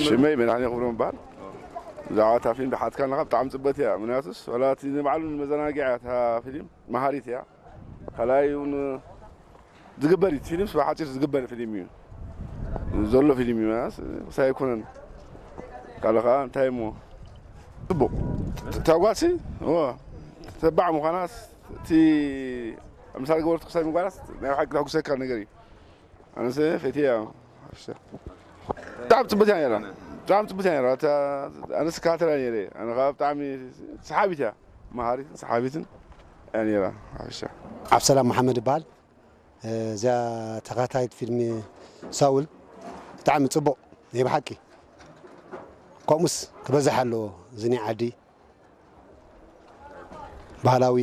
ሽመይ መድሓኒ ክብሮም ይበሃል። ብዛዕባ እታ ፊልም ድሓትካ ኣለኻ፣ ብጣዕሚ ጽበት እያ። ምክንያቱስ ዋላ እቲ ንባዕሉ ንመዘናግዒ እያ እታ ፊልም፣ መሃሪት እያ። ካልኣይ እውን ዝግበር እዩ። እቲ ፊልምስ ብሓፂር ዝግበር ፊልም እዩ። ዘሎ ፊልም እዩ። ምክንያቱስ ክሳይ ኣይኮነን። ካልእ ከዓ እንታይ እሞ፣ ጽቡቕ። እታ ጓልሲ፣ እዎ፣ ተባዕ ምዃናስ፣ እቲ ምሳሌ ገበርቱ ክሳይ ምጓናስ ናይ ብሓቂ ተሕጉሰካ ነገር እዩ። ኣነስ ፈትየ እያ። ብጣዕሚ ጽቡቅ እያ ነይራ። ብጣዕሚ ጽቡቅ እያ ነይራ። ኣነስ እከታተላ ነይረ። ኣነ ከዓ ብጣዕሚ ሰሓቢት እያ። መሃሪትን ሰሓቢትን እያ ነይራ። ሓፈሻ። ዓብሰላም መሓመድ ይበሃል። እዚኣ ተኸታታሊት ፊልም ሳውል ብጣዕሚ ጽቡቕ ናይ ብሓቂ። ከምኡስ ክበዝሕ ኣለዎ እዚ ናይ ዓዲ ባህላዊ።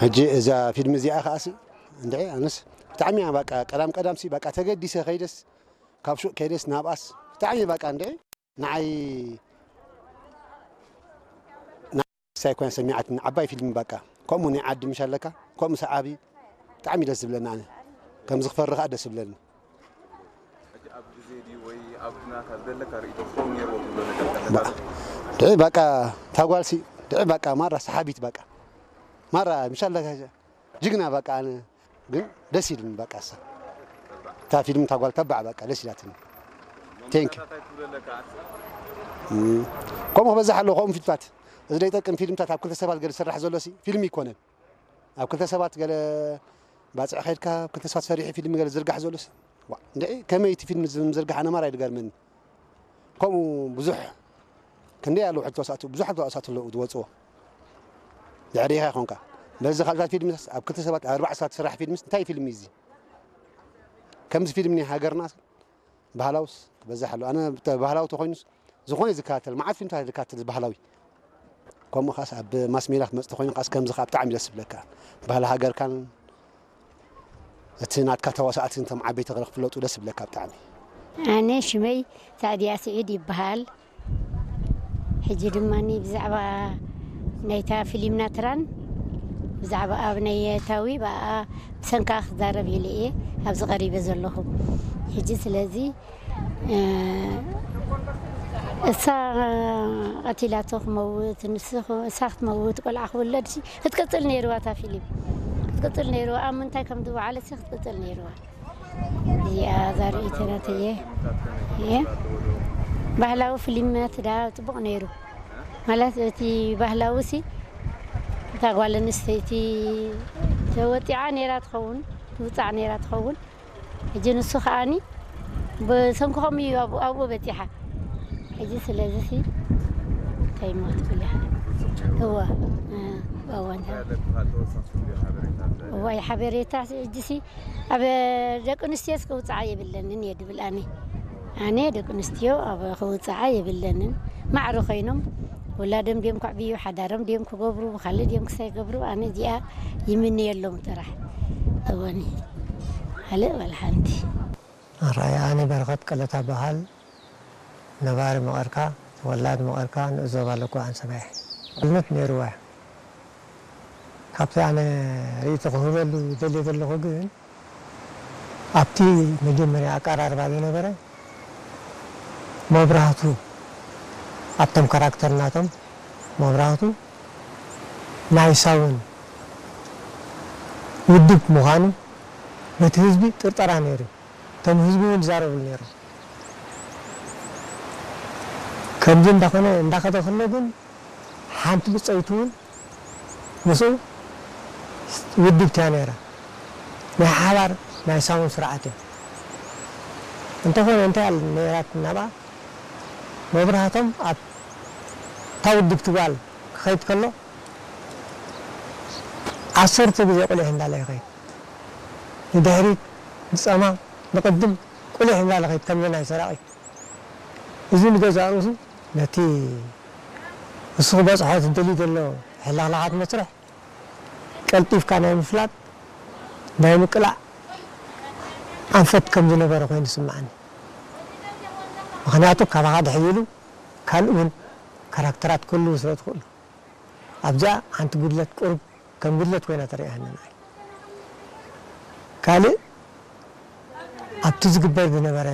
ሕጂ እዛ ፊልም እዚኣ ከኣሲ እንድዒ ኣነስ ብጣዕሚ እያ በቃ ቀዳም ቀዳምሲ በቃ ተገዲሰ ከይደስ ካብ ሹቕ ከይደስ ናብኣስ ብጣዕሚ በቃ እንድዒ ንዓይ ሳይ ኮይና ሰሚዓትኒ ዓባይ ፊልም በቃ ከምኡ ናይ ዓዲ ምሽ ኣለካ ከምኡ ሰዓቢ ብጣዕሚ ደስ ዝብለኒ ኣነ ከምዚ ክፈሪ ከዓ ደስ ዝብለኒ ሕጂ ኣብ ግዜ ድዩ ወይ ኣብ ኩናት ኣብ ዘለካ ርእይቶ ክኸውን ነይርዎ ትብሎ ነገር ተለካ ዶ? ድዒ በቃ ታጓልሲ ድዒ በቃ ማራ ሰሓቢት በቃ ማራ ምሽ ኣለካ ጅግና በቃ ኣነ ግን ደስ ኢልኒ በቃ እሳ እታ ፊልም እታ ጓል ተባዕ በቃ ደስ ኢላትኒ ቴንክ ከምኡ ክበዝሕ ኣለዎ ከምኡ ፊልምታት እዚ ደይጠቅም ፊልምታት ኣብ ክልተ ሰባት ገለ ዝስራሕ ዘሎ ሲ ፊልም ይኮነን ኣብ ክልተ ሰባት ገለ ባፅዕ ከድካ ኣብ ክልተ ሰባት ሰሪሑ ፊልም ገለ ዝርጋሕ ዘሎ ሲ ዋ እንድዒ ከመይ እቲ ፊልም ዝምዝርጋሕ ኣነ ማራ ይድገርመኒ ከምኡ ብዙሕ ክንደይ ኣለዉ ሕጂ ተዋሳእቲ ብዙሓት ተዋሳእቲ ኣለዉ ዝወፅዎ ድሕሪኻ ይኾንካ በዚ ካልታት ፊልምስ ኣብ ክልተ ሰባት ኣብ ኣርባዕተ ሰባት ዝስራሕ ፊልምስ እንታይ ፊልም እዩ እዚ ከምዚ ፊልም ናይ ሃገርና ባህላውስ ክበዝሕ ኣሎ ኣነ ባህላዊ ተኮይኑስ ዝኾነ ዝከታተል መዓት ፊልምታት ዝከታተል ባህላዊ ከምኡ ካስ ኣብ ማስ ሜዳ ክትመፅእ ተኮይኑ ካስ ከምዚ ከዓ ብጣዕሚ ደስ ዝብለካ ባህሊ ሃገርካን እቲ ናትካ ተዋሳእቲ እንቶም ዓበይቲ ክፍለጡ ደስ ዝብለካ ብጣዕሚ ኣነ ሽመይ ሳዕድያ ስዒድ ይበሃል ሕጂ ድማ ብዛዕባ ናይታ ፊሊም ናትራን ብዛዕባ ኣብ ናይ የታዊ ብኣ ብሰንካ ክዛረብ ኢለ እየ ኣብዚ ቀሪበ ዘለኹ ሕጂ ስለዚ እሳ ቀቲላቶ ክመውት ንሱ እሳ ክትመውት ቆልዓ ክውለድ ክትቅፅል ነይርዋ እታ ፊሊም ክትቅፅል ነይርዋ ኣብ ምንታይ ከም ዝወዓለት ክትቅፅል ነይርዋ እዚኣ እዛ ርእይቶ ናተየ እየ ባህላዊ ፍሊማት ዳ ፅቡቕ ነይሩ ማለት እቲ ባህላዊ ሲ እታ ጓል ኣንስተይቲ ተወጢዓ ነይራ ትኸውን ትውፃዕ ነይራ ትኸውን ሕጂ ንሱ ከዓኒ ብሰንኩ ከምኡ እዩ ኣብኡ በፂሓ ሕጂ ስለዚ ሲ እንታይ ሞ ክትብል እዋ እዋ እንታይ እዋይ ሓበሬታ ሕጂ ሲ ኣብ ደቂ ኣንስትዮስ ክውፅዓ የብለንን እየ ድብል ኣነ ኣነ ደቂ ኣንስትዮ ኣብ ክውፅዓ የብለንን ማዕረ ኮይኖም ውላዶም ድዮም ከዕብዩ ሓዳሮም ድዮም ክገብሩ ብካልእ ድዮም ክሳይ ገብሩ ኣነ እዚኣ ይምነየሎም ጥራሕ እወኒ ካልእ ዋላ ሓንቲ ኣርኣያ ኣነ በረኸት ቀለታ በሃል ነባሪ መቐርካ ተወላድ መቐርካ ንእዞባ ለኩ ኣንሰባይ ልነት ነይርዋ ካብቲ ኣነ ርእይቶ ክህበሉ ይደልየ ዘለኹ ግን ኣብቲ መጀመርያ ኣቀራርባ ዝነበረ መብራህቱ ኣብቶም ካራክተር ናቶም መብራህቱ ናይ ሳውን ውድብ ምዃኑ በቲ ህዝቢ ጥርጠራ ነይሩ እቶም ህዝቢ እውን ይዛረብሉ ነይሮም ከምዚ እንዳኾነ እንዳኸደ ከሎ ግን ሓንቲ ብፀይቱ እውን ምስኡ ውድብቲ እያ ነይራ ናይ ሓባር ናይ ሳውን ስርዓት እዮም እንተኾነ እንታይ ኣለ ነይራት ናብኣ መብራህቶም ኣብ እታ ውድብቲ ጓል ክኸይድ ከሎ ዓሰርተ ግዜ ቁሊሕ እንዳለ ይኸይድ ንድሕሪት ንፀማም ንቕድም ቁሊሕ እንዳለ ኸይድ ከምዚ ናይ ሰራቒ እዚ ንገዛእ ርእሱ ነቲ እሱ ክበፅሖ ዝደሊ ዘሎ ሕልኽላኻት መስርሕ ቀልጢፍካ ናይ ምፍላጥ ናይ ምቅላዕ ኣንፈት ከም ዝነበረ ኮይኑ ዝስምዓኒ ምክንያቱ ካባኻ ድሕይሉ ካልእ እውን ካራክተራት ክህልው ስለ ዝኽእሉ ኣብዚኣ ሓንቲ ጉድለት ቁሩብ ከም ጉድለት ኮይና ተሪኣኒ ንዓይ ካልእ ኣብቲ ዝግበር ዝነበረ